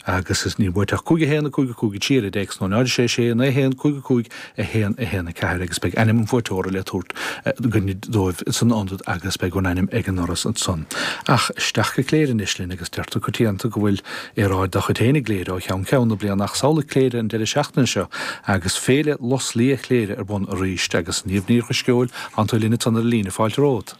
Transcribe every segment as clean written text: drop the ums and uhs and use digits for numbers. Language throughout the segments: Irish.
Agus is níl uait ach 5 1 5 5 3 ar an dtéacs nó 0 6 6 9 1 5 5 1 1 4 agus beidh ainm an bhuaiteora le tabhairt againn dóibh san ionad agus beidh a n-ainm ag an ndoras ansan. Ach isteach go Cléire anois linn agus deirtear coitianta go bhfuil aeráid dá chuid féin i gCléire ó cheann ceann na bliana ach samhlaigh Cléire an deireadh seachtaine seo agus Féile Lus Liath Chléire ar bun arís agus Niamh Ní Dhrisceoil, tánn tú linn ansan ar an líne, fáilte romhat.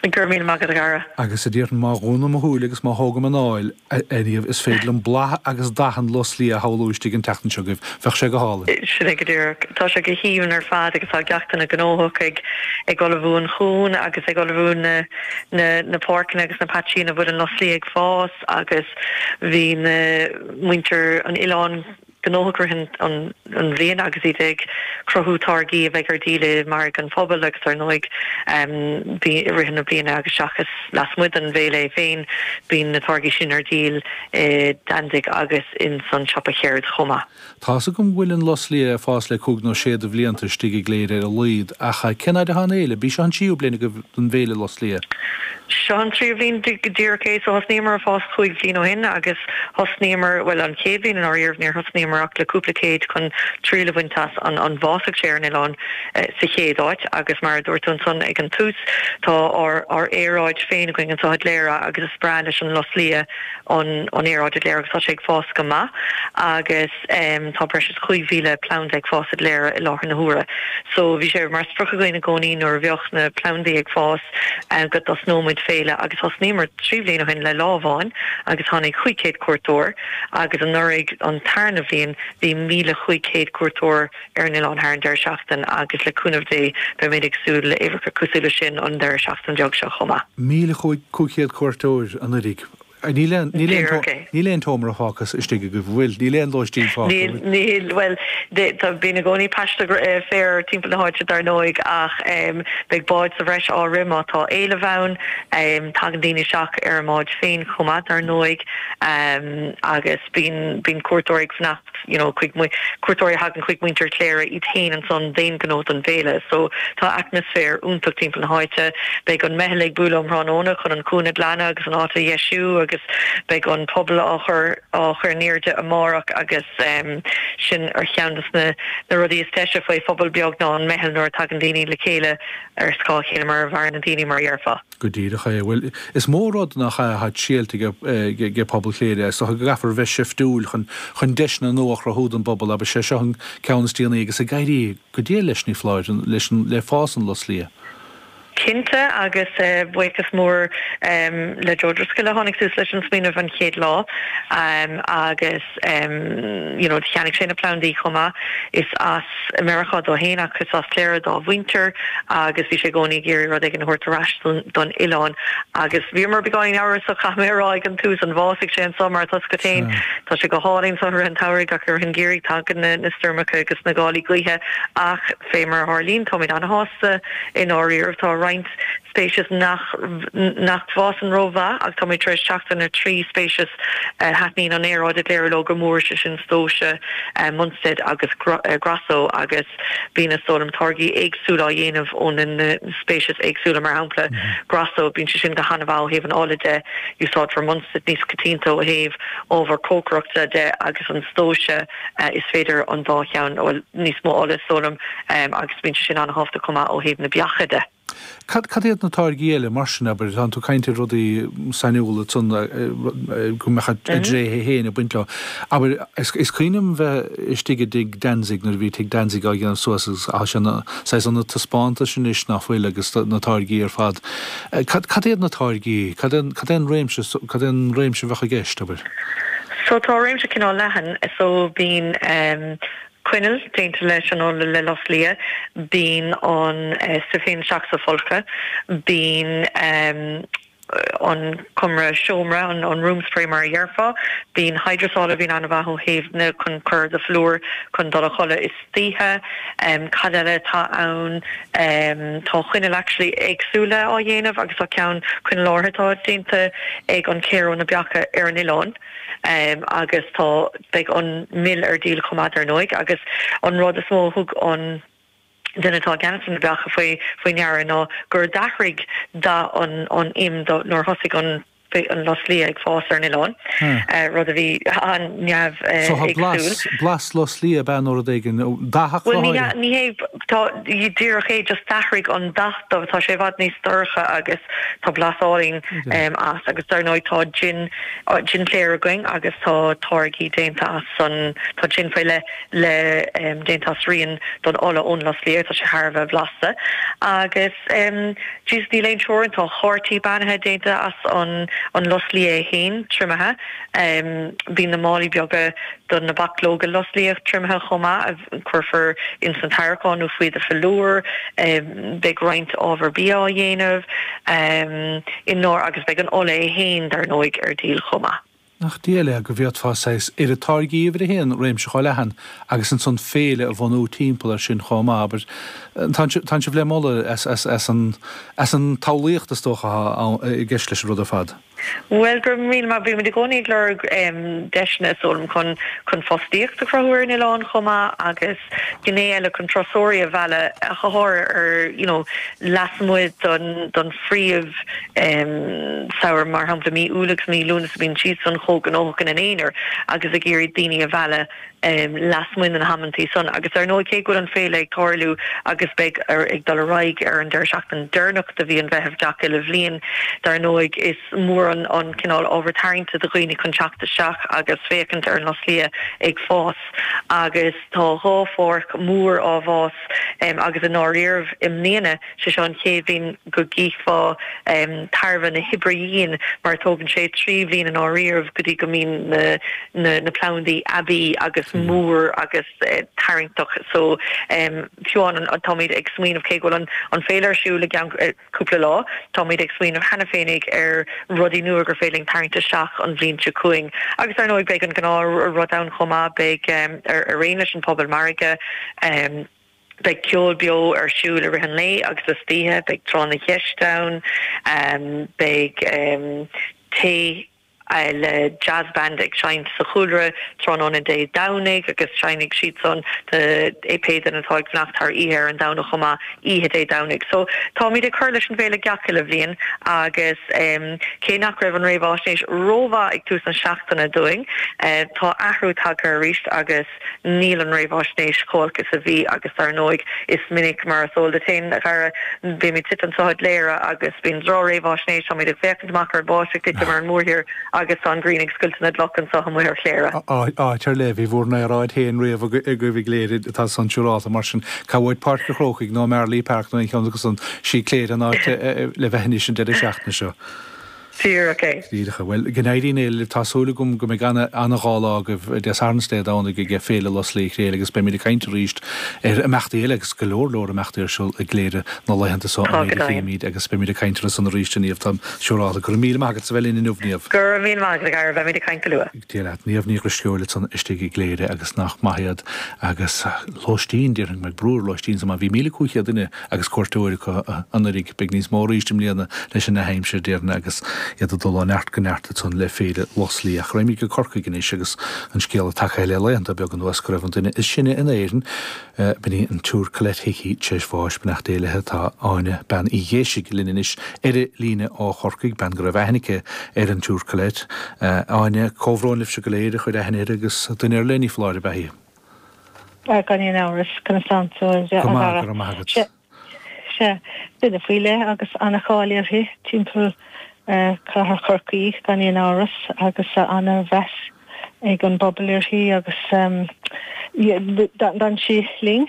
Go raibh míle maith agat, a Dhara. Agus a déarfainn má dhúnaim mo shúile agus má thógaim anáil, a Niamh, is féidir liom boladh agus dath an lus liath a shamhlú istigh an tseachtain seo agaibh. Bheadh sé go hálainn. Sin é go díreach. Tá sé go haoibhinn ar fad agus tá gach duine gnóthach ag ag ullmhú an chuain agus ag ullmhú na na na páirceanna agus na paitsí ina bhfuil an lus liath ag fás agus bhí na muintir an oileáin gnóthach i rith an bhliain agus iad ag cruthú táirgí a bheidh ar díol i margadh an phobail agus ar ndóigh i rith na bliana agus seachas lasmuigh den bhféile é féin bíonn na táirgí sin ar díol i Danzig agus ins an siopa cheird chomh maith. Tá's agam go bhfuil an lus liath ag fás le cúig nó sé de bhlianta istigh i gCléire ar a laghad ach cén fhaid atá an fhéile? B'í seo an tríú bliain agaibh don bhféile lus liath? Seo an tríú bhliain go díreach é. So thosnaíomar ag fás chúig bhliain ó shin agus thosnaíomar, bhuel an chéad bhliain i ndáiríribh níor thosnaíomar ach le cúpla céad chun triail a bhaint as an an bhfásfadh sé ar an oileán sa chéad áit agus mar a dúirt tú ansan ag an tús tá ár ár aeráid féin againn anseo i gCléire agus is breá leis an lus liath an an aeráid i gCléire agus tá sé ag fás go maith agus tá breis is 5,000 planda ag fás i gCléire i láthair na huaire. So bhí sé mar sprioc againn i gcónaí nuair a bheadh na plandaí ag fás go dtosnódh muid féile agus thosnaíomar 3 bhliain ó shin le lá amháin agus tháinig 500 cuairteoir agus anuraidh an tarna bhliain bhí 1,500 cuairteoir ar an oileán thar an deireadh seachtain agus le cúnamh Dé beimid ag súil le uimhreacha cosúil leis sin an deireadh seachtain beag seo chomh maith. 1,500 cuairteoir anuraidh. Níl aon, níl aon, Díreach é. níl aon tseomra fágtha istigh agaibh, an bhfuil? Níl aon lóistín fágtha, Níl, bhfuil? níl, bhuel, tá, bíonn i gcónaí paiste féir timpeall na háite dar ndóigh ach beidh báid sa bhreis á rith má tá éileamh ann. Tagann daoine isteach ar a mbáid féin chomh maith dar ndóigh agus bíonn, bíonn cuairteoirí ag fanacht. you know chuig cuairteoirí a thagann chuig muintir Chléire iad féin ansan d'aon ghnó don bhféile. So tá atmaisféar iontach timpeall na háite. Beidh an meitheal ag bualadh um thráthnóna chun an cuan a ghlanadh agus an áit a dheisiú agus beidh an puball á chur á chur in airde amárach agus sin ar cheann de na na rudaí is deise faoi phobal beag ná an meitheal nuair a tagann daoine le chéile ar scáth a chéile mar a mhaireann na daoine mar a dhéarfá. Go díreach é. Bhuel, is mó rud nach ea atá triailte ag pobal Chléire. Is dócha go gcaithfear a bheith seiftiúil chun chun deiseanna nua a chruthú don bpobal, abair. Sé seo an ceann is déanaí agus ag éirí go diail leis, ní foláir, leis an le fás an lus liath. Cinnte, agus buíochas mór le Joe Driscoll a tháinig suas leis an smaoineamh an chéad lá agus you know cheannaigh sé na plandaí chomh maith. Is as Meiriceá dó fhéin ach is as Cléire dá mhuintir agus bhí sé i gcónaí ag iarraidh rud éigin a thabhairt ar ais don oileán agus bhíomar beagáinín amhrasach caithfidh mé a rá ag an tús an bhfásfaidh sé anseo mar tá a fhios agat fhéin tá sé go hálainn anseo i rith an tsamhraidh ach i rith an gheimhridh tagann na stoirmeacha agus na gálaí gaoithe ach fé mar a tharlaíonn táimid ana-shásta i ndáiríribh tá roinnt speiceas nach nach bhfásann rómhaith ach táimid tar éis teacht ar na 3 speiceas a thaitníonn an aeráid i gCléire leo go mór, sé sin stóise, Munstead agus Grasso agus bíonn is dóigh liom táirgí éagsúla á dhéanamh ó na speicis éagsúla, mar shampla Grasso, bíonn sé sin go han-mhaith ó thaobh an ola de, úsáidfear Munstead níos coitianta ó thaobh ábhar cócaireachta de agus an stóise is féidir an dá cheann, bhuel níos mó ola is dóigh liom agus bíonn sé sin an-thábhachtach chomh maith ó thaobh na beacha de. Cad, cad iad na táirgí eile mar sin, abair, tánn tú ag caint ar rudaí sainiúla ansan go mbeadh a dtréithe féin ag baint leo. Abair, is, is cuimhin liom bheith istigh i dTigh Danzig nuair a bhí Tigh Danzig á dhéanamh suas agus tá sé ina saghas ionad taispeántais anois ná fuil agus na táirgí ar fad. Cad, cad iad na táirgí? Cad é, cad é an réimse, cad é an réimse a bheadh i gceist, abair? So tá réimse cineál leathan. So bíonn coinneal déanta leis an ola le lus liath, bíonn an stuif féin isteach sa folcadh, bíonn an cumra seomra, an room spray mar a dhéarfá, bíonn hydrosol a bhíonn an-mhaith ó thaobh na chun cur ar do phlúr chun dul a chodladh istoíche. Cad eile atá ann? Tá coinneal actually éagsúla á dhéanamh agus tá ceann, coinneal áirithe atá déanta ag an chéir ó na beacha ar an oileán. Agus tá, beidh an mil ar díol chomh maith dar ndóigh agus an rud is mó a thug an duine atá i gceannas ar na beacha faoi faoi ndeara ná gur d'athraigh dath an an im nuair a thosaigh an. Beidh an lus liath ag fás ar an oileán, rud a bhí an-neamh-éagsúil. So tá blas, blas lus liath ab ea nó rud éigin, dathach go háirithe? Bhuel, ní hé, tá, díreach é, just d'athraigh an dath dó, tá sé i bhfad níos dorcha agus tá blas álainn as agus dar ndóigh tá jin, jin Chléire againn agus tá táirgí déanta as an, tá jin faoi leith le, déanta as rian don ola ón lus liath, tá sé thar a bheith blasta agus. Jesus níl aon teorainn, tá cártaí beannaithe déanta as an an lus liath é féin, triomaithe. Bíonn na málaí beaga do na bachlóga lus liath triomaithe chomh maith, a cuirfear ins an tarraiceán nó faoi do philiúr. Beidh roinnt ábhar bia á dhéanamh i ndár agus beidh an ola é féin, dar ndóigh, ar díol chomh maith. Nach diail é go bhféadfá saghas oiread táirgí uimhir a haon, réimse chomh leathan, agus ansan féile a bhunú timpeall air sin chomh maith, abair. Tánn sibh le moladh as an as an tsamhlaíocht is dócha atá i gceist leis an rud ar fad. Bhuel, go raibh míle maith. Bímid i gcónaí ag lorg deiseanna is dóigh liom chun chun fostaíocht a chruthú ar an oileán chomh maith agus gné eile chun turasóirí a mhealladh ach go háirithe ar you know lasmuigh don don phríomh samhradh mar shampla mí Iúil agus mí Lúnasa bíonn siadsan chomh gnóthach ina n-aonar agus ag iarraidh daoine a mhealladh lasmuigh de na hamantaí san agus ar ndóigh cé go bhfuil an féile ag tarlú agus beidh ag dul ar aghaidh ar an deireadh seachtaine deireanach de mhí an Mheithimh gach uile bhliain dar ndóigh is mór an an cineál ábhar tarraingte do dhaoine chun teacht isteach agus féachaint ar an lus liath ag fás agus tá dhá pháirc mhór á bhfás agus i ndáiríribh i mbliana sé seo an chéad bhliain go gcífeá tairbhe na hoibre dhian mar tógann sé 3 bhliain i ndáiríribh go dtí go mbíonn na na na plandaí aibí agus mór agus tarraingteach so fiú amháin táimid ag smaoineamh cé go bhfuil an an féile ar siúl i gceann cúpla lá. Táimid ag smaoineamh cheana féinig ar rudaí nua gur féidir linn tarraingt isteach an bhliain seo chugainn. Agus ar ndóigh beidh an gnáth rud ann chomh maith, beidh ar aon leis an phuball margaidh, beidh ceol beo ar siúl i rith an lae agus istoíche, beidh tráth na gceist ann, beidh tae le jazz band ag seinnt sa chúlra tráthnóna Dé Domhnaigh agus seinnfidh siad san do pé duine atá ag fanacht thar oíche ar an Domhnach chomh maith, oíche Dé Domhnaigh. So táimid ag cur leis an bhféile gach uile bhliain agus cé nach raibh an réamháisnéis rómhaith ag tús na seachtaine dúinn, tá athrú tagtha arís agus Níl an réamháisnéis chomh holc is a bhí agus dar ndóigh is minic, mar is eol duit féin, a Dhara, bímid suite anseo i gCléire agus bíonn droch-réamháisnéis, táimid ag féachaint amach ar an bháisteach ag titim ar an mórthír agus tá an ghrian ag scoilteadh na gcloch anseo amuigh ar Chléire. Áit ar leith, bhí bhur n-aeráid féin riamh agaibh i gCléire atá san siúrálta, mar sin cá bhfuair Páirc an Chrócaigh nó Marlay Park nó aon cheann acu san, sí Cléire an áit le bheith anois an deireadh seachtaine seo. Díreach é. Díreach é. Bhuel, go n-éirí libh. Tá súil agam go mbeidh ana, ana-dhá lá agaibh, Dé Sathairn is Dé Domhnaigh ag Féile Lus Liath Chléire agus beimid ag caint arís ar imeachtaí eile agus go leor leor imeachtaí ar siúl i gCléire na laethanta so Tá an go méid a deimhin. chímid agus beimid ag caint orthu san arís a Niamh, táim siúrálta. Go raibh míle maith agat as a bheith linn inniu, Niamh. Go raibh míle maith agat, a Dhara. Beimid ag caint go luath. Dia leat. Niamh Ní Dhrisceoil ansan istigh i gCléire agus nach maith iad agus lóistín, déarfainn go mbeidh brú ar lóistín so má bhí 1,500 duine agus cuairteoir acu anuraidh. Beidh níos mó arís i mbliana leis an ndea-aimsir, déarfainn, agus iad ag dul ó neart go neart ansan le Féile Lus Liath. Ach raghaimid go Corcaigh anois agus an scéala tagtha le laethanta beaga anuas go raibh an duine is sine in Éirinn, b'in í an tSiúr Colette Hickey, tar éis bháis. Beannacht Dé léi. Tá Áine Bean Uí Ghéisigh linn anois ar an líne ó Chorcaigh, bean go raibh aithne aici ar an tSiúr Colette. Áine, comhbhrón libhse go léir a chuir aithne uirthi agus duine ar leith, ní foláir, ab ea í? Gan aon amhras, conas tánn tú a Go maith, go raibh maith agat. Sea, sea, duine faoi leith agus ana-cháil uirthi timpeall Chathair Chorcaí gan aon amhras agus ana-mheas ag an bpobal uirthi agus d'fhan sí linn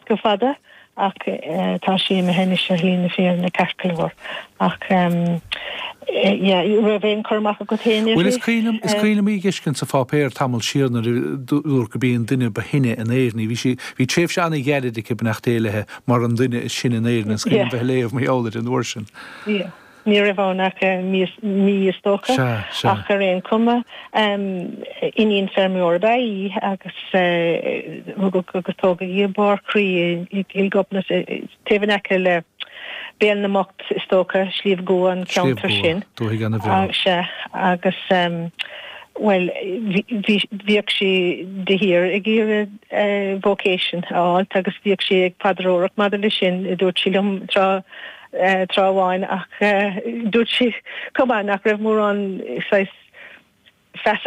go fada. Ach tá sí imithe anois ar shlí na fírinne ceart go leor. Ach yeah, raibh aon cur amach agat féin uirthi? Bhuel, is cuimhin liom, is cuimhin liom í a dh'fheiscint sa pháipéar tamall siar nuair a dúradh gurb í an duine ba shine in Éirinn í. Bhí sí, bhí tréimhse an-ghairid aici, beannacht Dé léi, mar an duine is sine in Éirinn. Is cuimhin liom bheith ag léamh mar gheall uirthi an uair sin. Yeah. Ní raibh ann ach mí is dócha, ach ar aon chuma, iníon feirmeora ab ea í agus rugadh agus tógadh í i mBarr Chroí i gCill Ghobnait, taobh in aice le Béal na mBocht is dócha, Sliabh gCua an ceantar sin. Dúthaigh ana-bhreá. Sea, agus bhuel, bhíodh sí de shíor ag iarraidh vocation a fháilt agus bhíodh sí ag paidreoireacht maidir leis sin, a dúirt sí liom tráth. tráth amháin ach dúirt sí chomh maith nach raibh mórán saghas feasa.